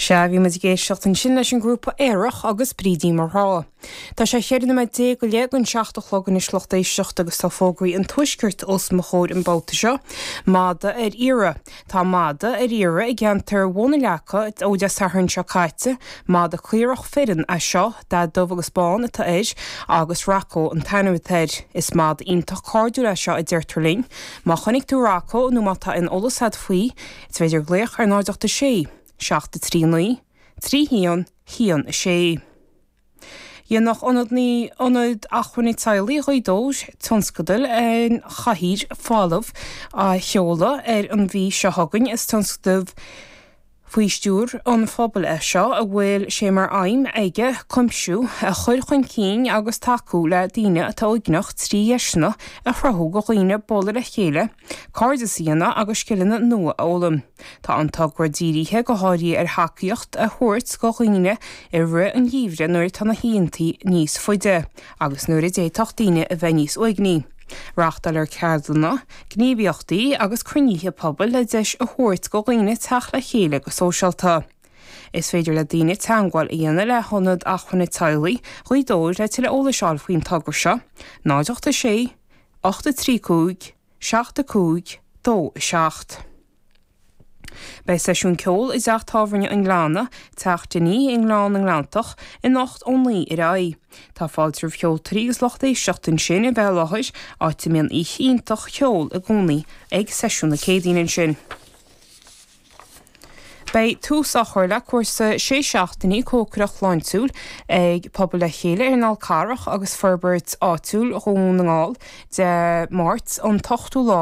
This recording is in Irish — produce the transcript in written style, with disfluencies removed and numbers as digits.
Sea, bhí muid ag éisteacht ansin leis an ngrúpa Aerach agus Brídín Mo Ghrá. Tá sé cheithre nóiméad déag go leith don seacht a chlog anois lucht éisteachta agus tá fógraí an Tuaiscirt os mo chomhair an babhta seo. Mada ar iarraidh. Tá mada ar iarraidh i gceantar Bhun an Leaca ó Dé Sathairn seo caite. Mada caorach fireann é seo, dath dubh agus bán atá air agus Rocco an t-ainm atá air. Is mada iontach cairdiúil é seo a deirtear linn. Má chonaic tú Rocco nó má tá aon eolas agat faoi, Is féidir glaoch ar 0 8 6 7 3 9 3 1 1 6. Dhéanfadh Ionad Ionad Acmhainne Teaghlaigh Ghaoth Dobhair tionscadal An Chathaoir Folamh a sheoladh ar an mhí seo chugainn. Is tionscadal faoi stiúir an phobail é seo a bhfuil sé mar aidhm aige cuimsiú a chur chun cinn agus tacú le daoine atá uaigneach trí dheiseanna a chruthú do dhaoine bualadh le chéile, cairdeas a dhéanamh agus scileanna nua a fhoghlaim. Tá an togra dírithe go háirithe ar thacaíocht a thabhairt do dhaoine i rith an gheimhridh nuair atá na hoícheantaí níos faide agus nuair a d'fhéadfadh daoine a bheith níos uaigní. Reáchtáiltear ceardlanna, gníomhaíochtaí agus cruinnithe pobail le deis a thabhairt do dhaoine teacht le chéile go sóisialta. Is féidir le daoine teagmháil a dhéanamh le hIonad Acmhainne Teaghlaigh Ghaoth Dobhair le tuilleadh eolais a fháil faoin togra seo, 0 8 6 8 3 5 7 5 2 7. Beidh seisiún ceoil i dteach tábhairne an Ghleanna, Teach Dinny i nGleann na nGleanntach, anocht ó 9 ar aghaidh. Tá fáilte roimh cheoltóirí agus lucht éisteachta ansin a bheith i láthair, áit a mbíonn oíche iontach cheoil i gcónaí ag seisiún na Céadaoine ansin. Beidh tús á chur le cúrsa sé seachtainí cócaireacht shláintiúil ag Pobal le Chéile ar an Fhál Carrach agus Forbairt Áitiúil Dhún na nGall Dé Máirt an t-ochtú lá.